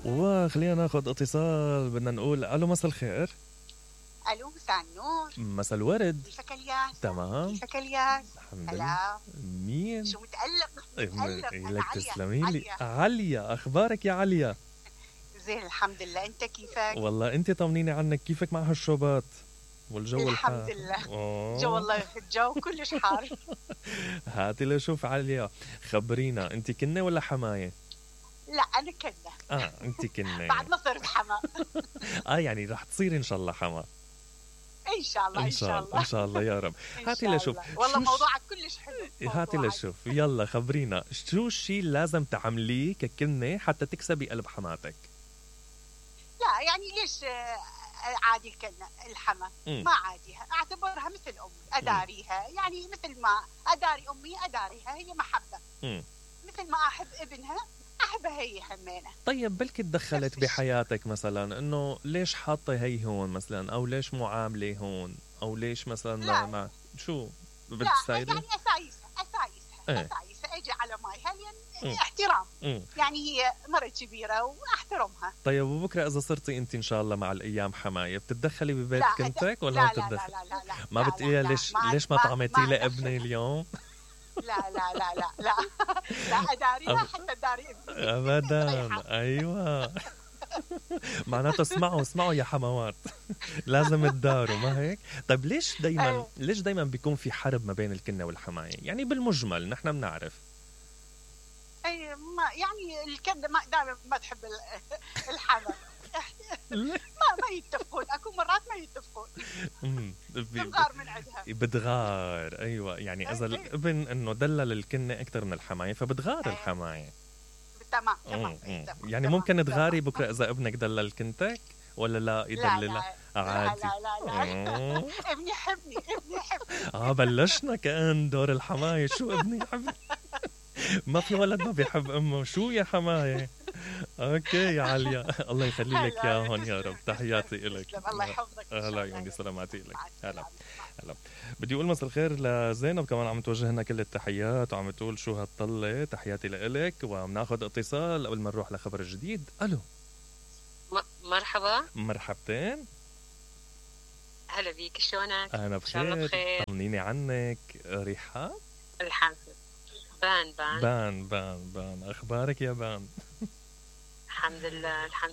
وخلينا ناخذ اتصال. بدنا نقول الو، مساء الخير. الو، مساء النور. مساء الورد. كيفك الياس؟ تمام كيفك الياس؟ الحمد لله. هلا. مين؟ شو متألق لك تسلمي لي. عليا، اخبارك يا عليا؟ زين الحمد لله، انت كيفك؟ والله انت طمنيني عنك، كيفك مع هالشوبات والجو الحمد لله. جو والله الجو كلش حار. هاتي لشوف عليا، خبرينا انت كنة ولا حماية؟ لا انا كنة. انت كنة. بعد ما صرت حما. يعني رح تصير ان شاء الله حما. ان شاء الله ان شاء الله ان شاء الله يا رب. هاتي لشوف. والله موضوعك كلش حلو. هاتي لشوف، يلا خبرينا شو الشيء لازم تعمليه ككنة حتى تكسبي قلب حماتك؟ لا يعني ليش عادي الكنة الحما؟ ما عاديها، اعتبرها مثل امي، اداريها يعني مثل ما اداري امي اداريها، هي محبة. مثل ما احب ابنها احبها هي همينة. طيب بلكي تدخلت بحياتك مثلا انه ليش حاطه هي هون مثلا، او ليش معامله هون، او ليش مثلا لا. ما شو بتستايري؟ لا يعني اسايسها اجي على مايها لان احترام. يعني هي مرة كبيرة واحترمها. طيب وبكره اذا صرتي انت ان شاء الله مع الايام حمايه بتتدخلي ببيت كنتك ولا لا بتتدخلي؟ لا ما بتقولي ليش ما طعمتي لي ابني اليوم؟ لا لا لا لا لا لا اداريها حتى اداري ابني ابدا. ايوه. معناته اسمعوا يا حموات. لازم تداروا، ما هيك؟ طيب ليش دايما بيكون في حرب ما بين الكنة والحماية؟ يعني بالمجمل نحن بنعرف. اي ما يعني الكنة دائما ما تحب الحما. ما يتفقون، اكو مرات ما يتفقون. بتغار من عندها. بتغار، ايوه. يعني اذا الابن انه دلل الكنة اكثر من الحماية فبتغار الحماية. تمام. يعني ممكن تغاري بكره اذا ابنك دلل كنتك ولا لا يدللها؟ عادي. لا. ابني يحبني. بلشنا كأن دور الحماية. شو ابني يحبني؟ ما في ولد ما بيحب امه. شو يا حماية؟ اوكي يا عليا، الله يخلي لك اياهم يا رب. تحياتي لك. الله يحفظك. هلا يومي، سلاماتي لك. هلا. بدي اقول مساء الخير لزينب كمان، عم توجه لنا كل التحيات وعم تقول شو هالطلة. تحياتي لك. وبناخذ اتصال قبل ما نروح لخبر جديد. الو، مرحبا. مرحبتين. هلا بيك، شلونك؟ انا بخير. طمنيني عنك. ريحان؟ الحمد لله. بان اخبارك يا بان؟ الحمد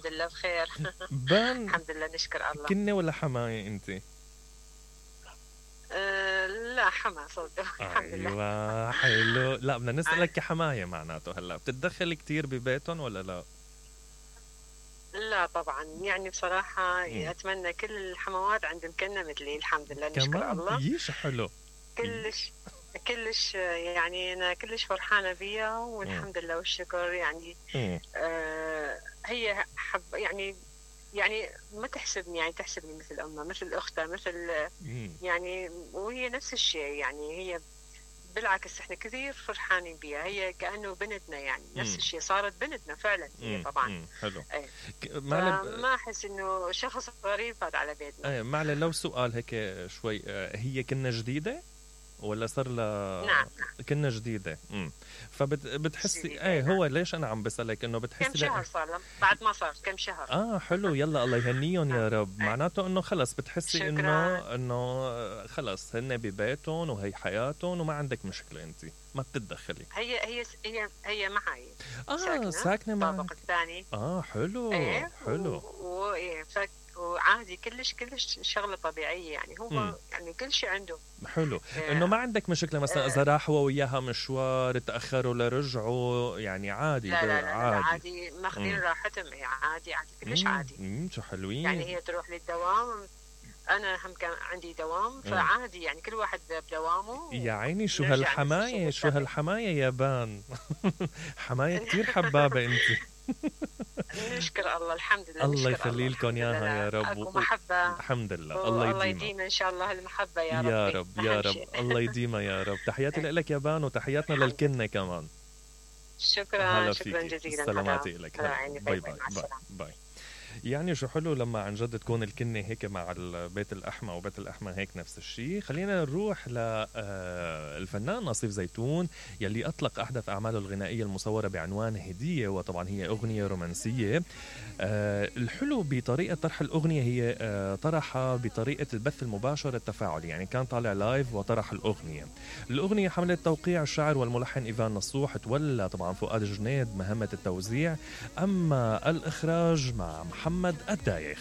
لله بخير. بان الحمد لله نشكر الله. كنة ولا حماية انت؟ لا حما صوته. الحمد لله. ايوه حلو. لا بدنا نسألك كحماية، معناته هلا بتتدخل كتير ببيتهم ولا لا؟ لا طبعا، يعني بصراحة أتمنى كل الحموات عندهم كنة مثلي. الحمد لله نشكر الله. يش حلو. كلش يعني أنا كلش فرحانة بيها والحمد لله والشكر. يعني هي يعني ما تحسبني، يعني تحسبني مثل أمها، مثل أختها، مثل يعني، وهي نفس الشيء. يعني هي بالعكس احنا كثير فرحانين بيها، هي كأنه بنتنا. يعني نفس الشيء، صارت بنتنا فعلا هي طبعا. حلو. ما أحس إنه شخص غريب فات على بيتنا. معلي لو سؤال هيك شوي، هي كنا جديدة ولا صار لها؟ نعم كنا جديدة. فبتحسي هو ليش أنا عم بسألك إنه بتحسي كم شهر صار لهم بعد ما صار كم شهر. حلو. يلا الله يهنيهم يا رب. معناته إنه خلص بتحسي إنه خلص هن ببيتهم وهي حياتهم وما عندك مشكلة، أنت ما بتتدخلي. هي معي. ساكنة معي. الطابق الثاني. حلو. حلو. وعادي كلش شغلة طبيعية. يعني هو يعني كل شيء عنده حلو. انه ما عندك مشكلة مثلا اذا راحوا وياها مشوار تأخروا لرجعوا، يعني عادي. لا عادي ماخذين راحتهم. عادي كلش عادي. شو حلوين. يعني هي تروح للدوام، انا هم كان عندي دوام، فعادي يعني كل واحد بدوامه. يا عيني شو هالحماية يا بان. حماية كتير حبابة انت. نشكر الله. الحمد لله. الله يخلي لكم اياها يا رب. محبة. الحمد لله. الله يديم ان شاء الله المحبة يا رب. يا رب الله يديمها يا رب. تحياتي لك يا بان وتحياتنا للكنة كمان. شكرا جزيلا. سلاماتي لك. باي. يعني شو حلو لما عن جد تكون الكنة هيك مع البيت الأحمى وبيت الأحمى هيك نفس الشيء. خلينا نروح للفنان نصيف زيتون يلي أطلق أحدث أعماله الغنائية المصورة بعنوان هدية، وطبعا هي أغنية رومانسية. الحلو بطريقة طرح الأغنية هي طرحها بطريقة البث المباشر التفاعلي، يعني كان طالع لايف وطرح الأغنية حملت توقيع الشاعر والملحن إيفان نصوح، تولى طبعا فؤاد جنيد مهمة التوزيع، أما الإخراج مع محمد الدايخ.